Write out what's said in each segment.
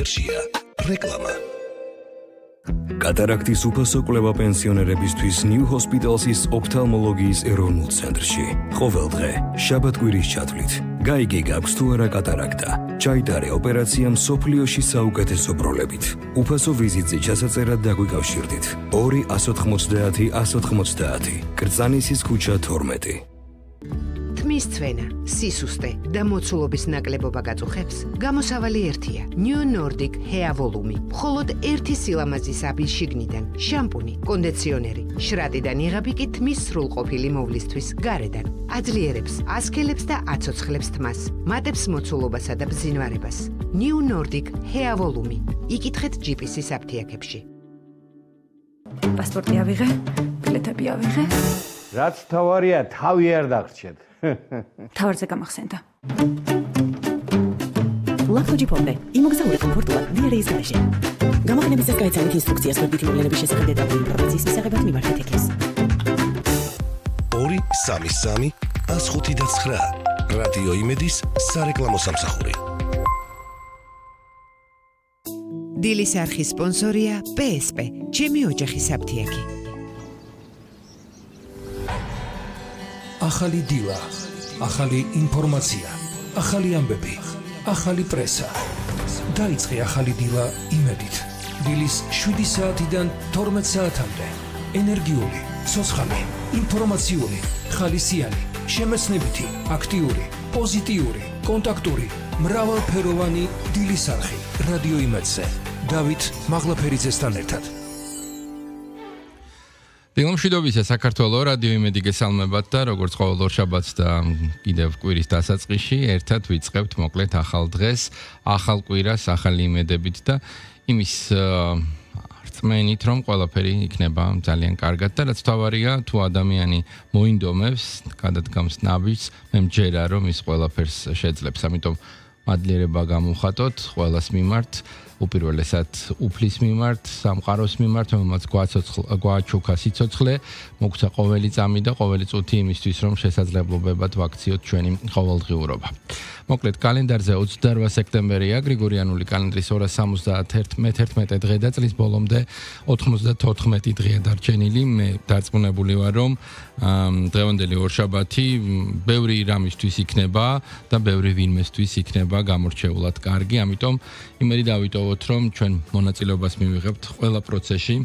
რეკლამა კატარაქტის უფასო კვლევა პენსიონერებისთვის New Hospital's ოფთალმოლოგიის ეროვნულ ცენტრში. ყოველ დღე, შაბათ-კვირის ჩათვლით, გაიგე გაქვს თუ არა კატარაქტა. ჩაიტარე ოპერაცია მსოფლიოში საუკეთესო პროლებით. უფასო ვიზიტზე ჩასაწერად დაგვიკავშირდით. 2-190-190, კრწანისის ქუჩა 12. თმის ცვენა, სისუსტე და მოცულობის ნაკლებობა გაწუხებს, გამოსავალი ერთია. New Nordic Hair Volume. მხოლოდ ერთი სილამაზის აბის შიგნიდან, შამპუნი, კონდიციონერი, შრატიდან იღები კი თმის სრულყოფილი მოვლისთვის გარედან. აძლიერებს, ასქელებს და აცოცხლებს თმას, მატებს მოცულობასა და ბზინვარებას. New Nordic Hair Volume. იკითხეთ GPS-ის აფთიაქებში. პასპორტი ავიღე, ბილეთები ავიღე. რაც თავარია, თავი არ დაგრჩეთ. თავარზე გამახსენდა. ლაქთოჯიფონდე, იმოგზაურე კომფორტულად დიარეის გარეშე. გამოგონებისას გაიცანით ინსტრუქციას გვერდითი მოვლენების შესახებ დეტალური ინფორმაციის მისაღებად მიმართეთ ექეს. 2-3-3-105-9 რადიო იმედის სარეკლამო სამსახური. დილის არხის სპონსორია PSP, ჩემი ოჯახის აფთიაქი. ახალი დილა, ახალი ინფორმაცია, ახალი ამბები, ახალი პრესა. დაიწყე ახალი დილა იმედით. დილის 7 საათიდან 12 საათამდე. ენერგიული, ცოცხალი, ინფორმაციული, ხალისიანი, შემეცნებითი, აქტიური, პოზიტიური, კონტაქტური, მრავალფეროვანი დილის არხი. რადიო იმედზე. დავით მაღლაფერიძესთან ერთად. დილომშვიდობისა საქართველოს რადიო იმედი გესალმებათ და როგორც ყოველ ორშაბათს და კიდევ კვირის დასაწყისში ერთად ვიწყებთ მოკლედ ახალ დღეს, ახალ კვირას, ახალი იმედებით და იმის რწმენით, რომ ყველაფერი იქნება ძალიან კარგად და რაც თავარია, თუ ადამიანი მოინდომებს, გადადგამს ნაბიჯს, მე მჯერა რომ ის ყველაფერს შეძლებს. ამიტომ მადლიერება გამოვხატოთ ყველას მიმართ. უპირველესად უფლის მიმართ, სამყაროს მიმართ, რომელმაც გვაჩუქა სიცოცხლე, მოგცა ყოველი წამი და ყოველი წუთი იმისთვის, რომ შესაძლებლობებად ვაქციოთ ჩვენი ყოველდღიურობა. მოკლედ კალენდარზე 28 სექტემბერია, გრიგორიანული კალენდრის 271 დღე და წლის ბოლომდე 94 დღეა დარჩენილი. მე დარწმუნებული ვარ, რომ დღევანდელი ორშაბათი ბევრი რამისთვის იქნება და ბევრი ვინმესთვის იქნება გამორჩეულად კარგი, ამიტომ იმედი დავიტოვოთ, რომ ჩვენ მონაწილეობას მივიღებთ ყველა პროცესში,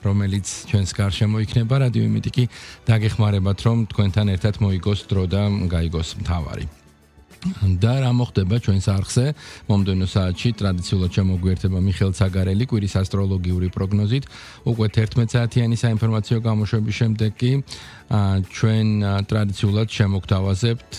რომელიც ჩვენს გარშემო იქნება. რადიო იმედი კი დაგეხმარებათ, რომ თქვენთან ერთად მოიგოს დრო და გაიგოს მთავარი. და რა მოხდება ჩვენს არხზე მომდევნო საათში ტრადიციულად შემოგვიერთება მიხეილ ცაგარელი კვირის ასტროლოგიური პროგნოზით. უკვე 11 საათიანი საინფორმაციო გამოშვების შემდეგ კი ჩვენ ტრადიციულად შემოგთავაზებთ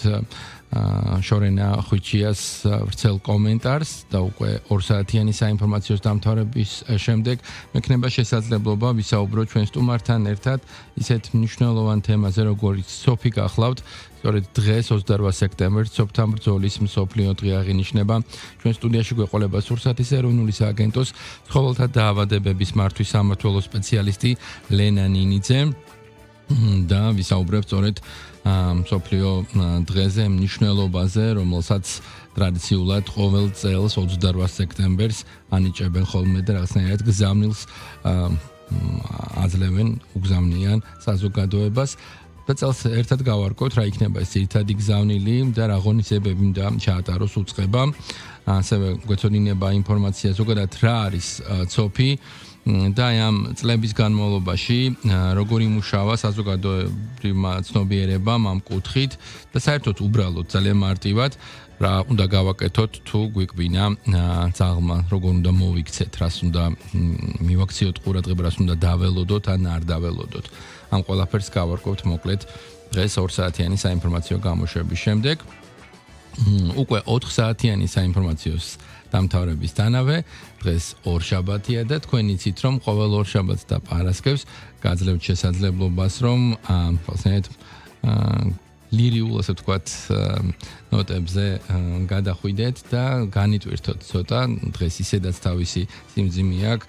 შორენა ხვიჩიას ვრცელ კომენტარს და უკვე 2 საათიანი საინფორმაციო დამთავრების შემდეგ მექნება შესაძლებლობა ვისაუბრო ჩვენ სტუმართან ერთად ისეთ მნიშვნელოვან თემაზე, როგორც სოფი გახლავთ. სწორედ დღეს 28 სექტემბერს სოფთა ბრძოლის მსოფლიო დღე აღინიშნება. ჩვენ სტუდიაში გვეყოლება სურსათის ეროვნული სააგენტოს ცხოველთა დაავადებების მართვის სამმართველო სპეციალისტი ლენა ნინიძე და ვისაუბრებთ სწორედ მსოფლიო დღეზე, მნიშვნელობაზე, რომელსაც ტრადიციულად ყოველ წელს 28 სექტემბერს ანიჭებენ ხოლმე და რაღაცნაირად გზავნილს აძლევენ უგზავნიან საზოგადოებას. და წელს ერთად გავარკვევთ რა იქნება ეს ძირითადი გზავნილი და რა ღონისძიებები უნდა ჩაატაროს უწყება. ასევე გვეცოდინება ინფორმაცია ზოგადად რა არის ცოფი და ამ წლების განმავლობაში როგორ იმუშავა საზოგადოებრივმა ცნობიერებამ ამ კუთხით და საერთოდ უბრალოდ ძალიან მარტივად რა უნდა გავაკეთოთ თუ გვიკვინა ძაღლმა, როგორ უნდა მოვიქცეთ, რას უნდა მივაქციოთ ყურადღება, რას უნდა დაველოდოთ ან არ დაველოდოთ. ამ ყველაფერს გავარკვევთ მოკლედ დღეს 2 საათიანი საინფორმაციო გამოშვების შემდეგ. უკვე 4 საათიანი საინფორმაციოს დამთავრებისთანავე დღეს ორშაბათია და თქვენ იცით რომ ყოველ ორშაბათს და პარასკევს გაძლევთ შესაძლებლობას რომ ლირიულ ასე ვთქვათ ნოტებზე გადახვიდეთ და განიტვირთოთ ცოტა. დღეს ისედაც თავისი სიმძიმე აქვს,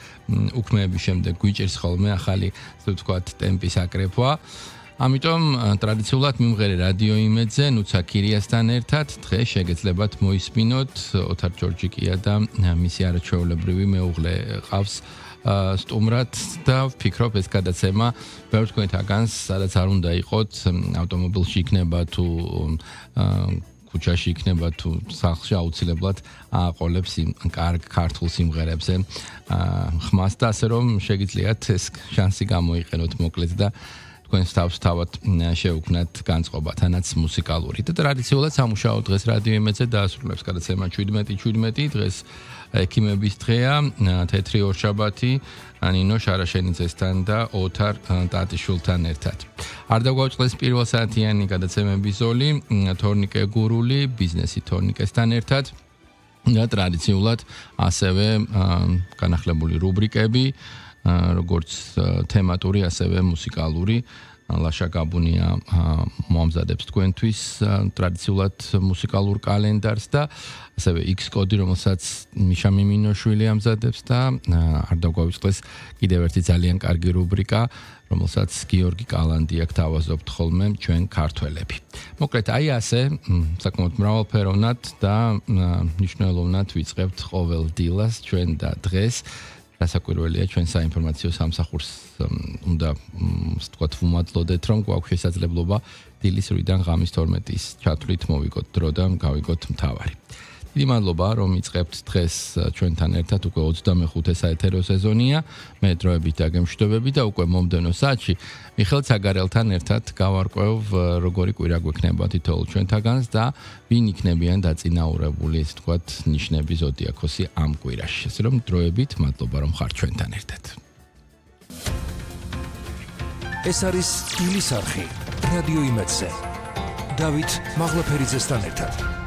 უქმეების შემდეგ გვიჭირს ხოლმე ახალი ასე ვთქვათ ტემპის აკრეფვა. ამიტომ ტრადიციულად მიმღერე რადიო იმედზე ნუცა ქირიასთან ერთად დღეს შეგეძლებათ მოისმინოთ ოთარ ჯორჯიკია და მისი არაჩვეულებრივი მეუღლე ყავს სტუმრად და ვფიქრობ ეს გადაცემა ბევრ თქვენთაგანს სადაც არ უნდა იყოთ ავტომობილში იქნება თუ ქუჩაში იქნება თუ სახლში აუცილებლად აყოლებს იმ კარგ ქართულ სიმღერებზე ხმას და ასე რომ შეგიძლიათ ეს შანსი გამოიყენოთ მოკლედ და თქვენს თავს თავად შეუქმნათ განწყობა თანაც მუსიკალური და ტრადიციულად სამუშაო დღეს რადიო იმედზე დაასრულებს გადაცემა 17 დღეს ექიმების დღეა თეთრი ორშაბათი ნინო შარაშენიძესთან და ოთარ ტატიშვილთან ერთად არ დაგვაუწყდეს პირველ საათიანი გადაცემების ზოლი თორნიკე გურული ბიზნესი თორნიკესთან ერთად და ტრადიციულად ასევე განახლებული რუბრიკები როგორც თემატური ასევე მუსიკალური ლაშა გაბუნია მომზადებს თქვენთვის ტრადიციულად მუსიკალურ კალენდარს და ასევე X კოდი რომელსაც მიშა მიმინოშვილი ამზადებს და არ დაგვაუწყდეს კიდევ ერთი ძალიან კარგი რუბრიკა რომელსაც გიორგი კალანდი აქ თავაზობთ ხოლმე ჩვენ ქართველები. მოკლედ აი ასე საკმაოდ მრავალფეროვნად და მნიშვნელოვნად ვიწყებთ ყოველ დილას ჩვენ და დღეს დასაკვირველია ჩვენ საინფორმაციო სამსახურს უნდა ვთქვათ ვუმადლოდეთ რომ გვაქვს შესაძლებლობა დილის 8-დან ღამის 12-ის ჩათვლით მოვიგოთ დრო და გავიგოთ მთავარი. დიდი მადლობა რომ იწყებთ დღეს ჩვენთან ერთად უკვე 25 საეთერო სეზონია მე დროებით დაგემშვიდობები და უკვე მომდევნო საათში მიხელ ცაგარელთან ერთად გავარკვევ როგორი კვირა გვექნება თითოეულ ჩვენთაგანს და ვინ იქნებიან დაწინაურებული ესე ვთქვათ ნიშნები ზოდიაქოსი ამ კვირაში ესე რომ დროებით მადლობა რომ ხართ ჩვენთან ერთად ეს არის დილის არხი რადიო იმედზე დავით მაღლაფერიძესთან ერთად